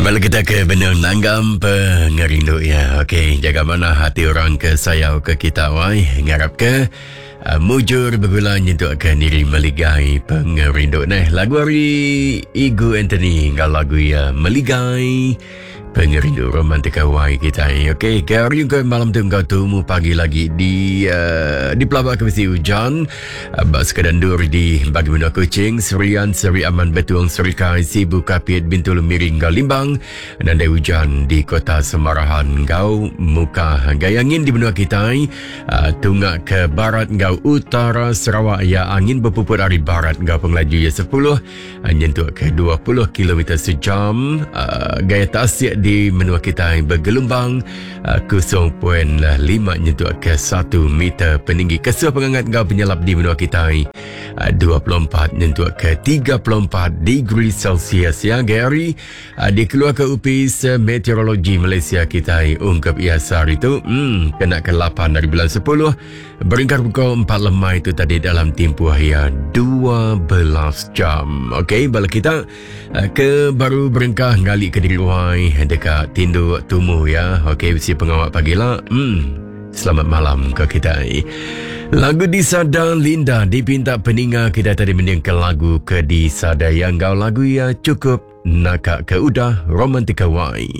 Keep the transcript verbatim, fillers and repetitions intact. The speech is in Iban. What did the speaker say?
Bala kita ke benar nanggam pengerindu ya. Okey, jaga mana hati orang ke sayau ke kita wai. Ngarap ke uh, mujur bergula nyentuk ke niri meligai pengerindu. Nah, lagu hari Igu Anthony ngau lagu ya Meligai Pengerindu romantika wai kita. Okey, ke hari ke malam tu engkau tumu pagi lagi di uh, di pelabak ke mesti hujan. Uh, bak sekadar ndur di bagi menua Kuching, Serian, Seri Aman, Betuang, Serikai, Sibu, Kapit, Bintulu, Miring, Gau Limbang. Dan ada hujan di kota Semarahan, Gau Muka. Gaya angin di benua kita, uh, tunggak ke barat, Gau utara Sarawak. Ya, angin berpuput dari barat, Gau pengelaju ya sepuluh, uh, nyentuh ke dua puluh kilometer sejam. Uh, gaya tasik di menua kita bergelombang uh, kosong perpuluhan lima nyentuh ke satu meter peninggi. Kesuh pengangat gau penyelap di menua kita uh, dua puluh empat nyentuh ke tiga puluh empat degree Celsius. Ya, Gary uh, dikeluar ke Upis Meteorologi Malaysia kita ungkap ia sehari itu hmm, kena ke lapan dari bulan sepuluh berengkar pukul empat lemai itu tadi dalam tempoh ya dua belas jam. Okey, bala kita uh, ke baru berengkah ngali ke diri wai dekat tinduk tumu ya. Okey, mesti pengawal pagi lah. Hmm, selamat malam ke kita. Lagu Disada Linda dipinta peninga kita tadi mendengar lagu ke Disada yang kau lagu ya cukup nakak ke udah romantika wai.